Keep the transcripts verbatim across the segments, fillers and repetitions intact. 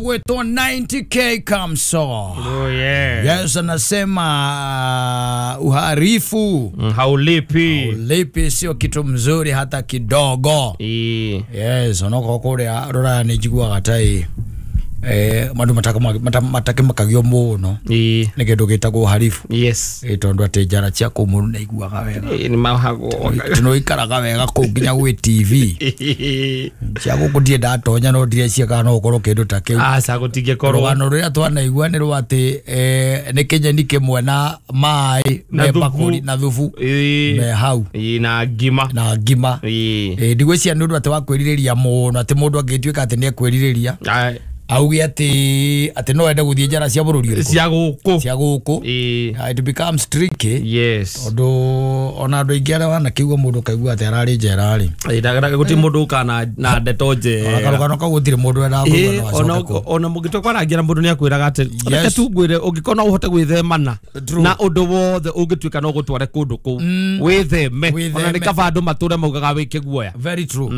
Gwetwo ninety K Kamso. Oh yeah. Yes, anasema uharifu mm, haulipi. Haulipi sio kitu mzuri hata kidogo. E. Yes, onoko kuria rora ni njiguaga tai eh mandu mataka matake makagio muno. E. Ni kindu gitagwo uharifu. Yes. E tondu ati njara cia kuu mundu naiguaga wega. E, ni mahagwo. Tuno ikaraga wega kuu nginya gwi T V. Cia guku ndie ndatonya no ndire cia kana no ukorwo kindu ta kiu. Aca gutingĩkorwo. Rugano ruria twanaigua ni rwa ati eh ni kinyeni kimwe na mai me bakuri na thubu. E. Me hau. E, na ngima. Na ngima. E. E ndigwĩciria ni undu ati wa kwĩrirĩria mũno ati mũndũ angĩtuĩka ati ni ekwĩrirĩria. Auge ati ati no ende guthie njara cia bururi uriku cia guku cia guku it becomes tricky. Yes, tondu ona andu aingi aria wanakiuga mundu kaigua ati arari njera ri ndaga guti mundu uka na na ndeto njega karugano kau gutiri mundu endaga kuigua no ona acoke kuu. Ona mungĩtua kwarangira mundu niakwiraga ati reke tu ngwire ungĩkorwo no uhote gwĩthemana na undu wothe ungĩtuĩka no gũtware kũndũ kũu wĩtheme ona nĩ kaba andũ matũre maugaga wĩ kĩguoya. Very true.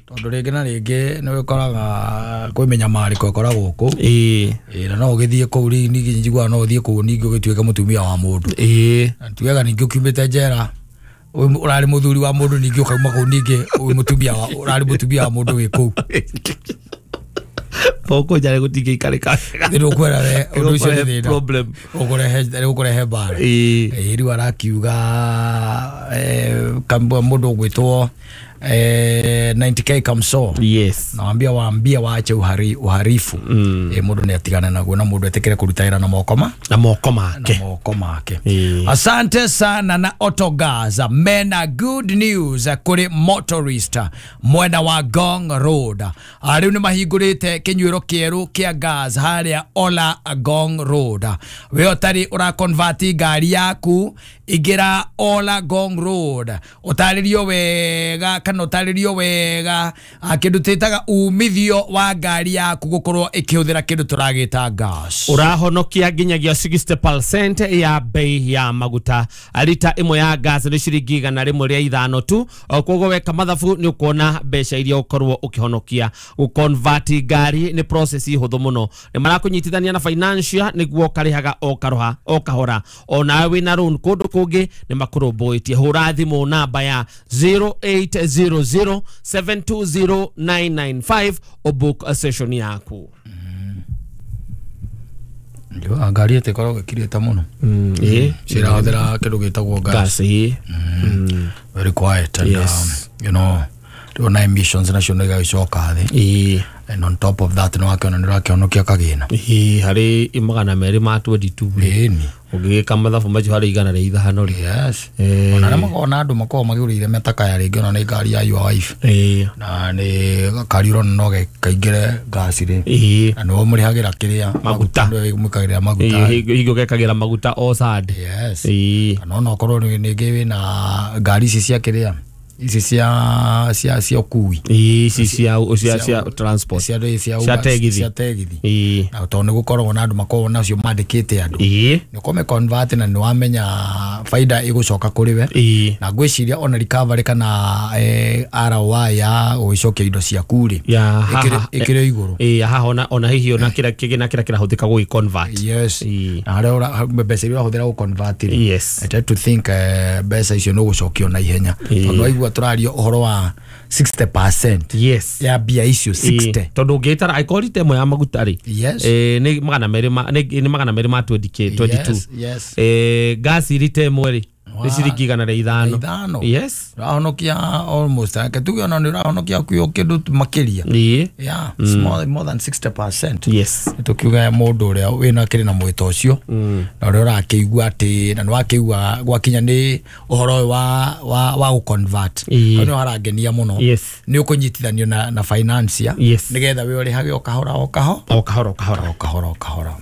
Tondu rĩngĩ na rĩngĩ nĩ wĩkoraga kwĩ mĩnyamarĩko ĩkoragwo gũkũ. Ĩĩ. Ĩĩ, na no ũgĩthiĩ kũu rĩ ningĩ njiguaga no ũthiĩ kũu ningĩ ũgĩtuĩke mũtumia wa mũndũ. Ĩĩ. Na tugaga ningĩ ũkiumĩte njera ũrarĩ mũthuri wa mũndũ ningĩ ũkauma kũu ningĩ wĩ mũtumia wa ũrarĩ mũtumia wa mũndũ wĩ kũu. Poko jare gutingĩikarĩka. Nĩ ũkwera we ũndũ ũcio nĩ thĩna. Problem. Ũkũrehe ũkũrehe mbara. Ĩĩ. Ĩĩ, rĩu arakiuga eh kambua mũndũ ũgwĩtwo eh ninety K Kamso. Yes. Naambia waambia waache uhari uharifu. Mm. Eh mundu ni atigane naguo na mundu etikire kuruta wira na moko ma na moko make. Na moko make. E. Asante sana na Autogas mena good news kuri motorist mwena wa Ngong Road. Riu ni mahingurite kinyuiro kieru kia gas haria Ola Ngong Road. We utari ura convert ngari yaku ingira Ola Ngong Road. Utaririo wega kana utaririo wega kindu twitaga umithio wa ngari yaku gukorwo ikihuthira kindu turagita gas. Urahonokia nginyagia sixty percent ya bei ya maguta. Lita imwe ya gas ni ciringi igana rimwe ria ithano tu. Koguo weka mathabu ni ukuona mbeca iria ukorwo ukihonokia. Guconvert ngari ni process huthu muno. Ni marakunyitithania na financial niguo karihaga o karoha o kahora. Ona wina loan kundu kungi ni makurumbuitie. Hura thimu namba ya zero eight zero zero seven two zero nine nine five o book a session yaku. Ndio ngari itikoragwo ĩkirĩte mũno. Mm, eh, cirahũthĩra kĩndũ gĩtagwo gas. Gas, eh. Mm. Very quiet and yes. um, you know, na emissions nacio nĩ igagĩcoka thĩ. Eh. And on top of that no akĩona nĩ ũrakĩhonokia kagĩna. Eh, harĩ magana merĩ ma twenty two. Ĩni. Ũngĩgĩka mathabu macio harĩ igana rĩa ithano rĩ. Yes. Eh. Ona arĩa makoragwo na andũ makoragwo magĩũrĩire metakaya rĩngĩ ona nĩ ngari ya your wife. Eh. Na nĩ gakari ũrona no kaingĩre gas rĩ. Eh. Na nĩwe mũrĩhagĩra kĩrĩa maguta. Nĩwe mũkagĩra maguta. Eh, hingo gekagĩra maguta o Sunday. Yes. Eh. Kana ona okorwo nĩngĩ wĩna ngari ici cia kĩrĩa ici cia cia cia ũkui. Ici cia cia cia transport. Cia cia cia tegithi. Cia tegithi. Eh. Na tondũ nĩ gũkoragwo na andũ makoragwo nacio mandĩkĩte andũ. Eh. Nĩ ũkũmĩ convert na nĩ wamenya faida ĩgũcoka kũrĩ we. Eh. Na ngwĩciria ona recovery kana eh, R O I ya gũgĩcokia indo ciaku rĩ. Ya Ĩkĩrĩ igũrũ. Eh, haha ona ona hihi ona kĩrĩa kĩgĩna kĩrĩa kĩrahũthĩka gũgĩ convert. Yes. Eh. Na harĩa ũra mbeca iria ũrahũthĩra gũ convert rĩ. Yes. I try to think eh, mbeca icio nĩ ũgũcokio na ihenya. Tondũ waigua tũraria ũhoro wa sixty percent. Yes. Ya mbia icio sixty. Tondũ ũngĩtara angĩkorwo rita ĩmwe ya maguta rĩ. Yes. Eh, nĩ magana merĩ ma nĩ magana merĩ ma twenty K twenty two. Yes, yes. Eh, gas rita ĩmwe rĩ nĩ ciringi igana rĩa ithano. Ithano. Yes. Ũrahonokia almost ake tuge ona nĩ ũrahonokia kuo kĩndũ makĩria. Ĩĩ. Yeah, it's more, more than sixty percent. Yes. Tukiuga mũndũ ũrĩa wĩna kĩrĩ na mwĩto ũcio na ũrĩa ũrakĩigua atĩ na nĩ wakĩigua gwakinya nĩ ũhoro ũyũ wa wa wa gũ convert. Ĩĩ. Hau nĩho harangenia mũno. Yes. Nĩ ũkũnyitithanio na na financier Yes. nĩgetha we ũrĩhage o kahora o kaho O kahora o kahora. o kahora o kahora.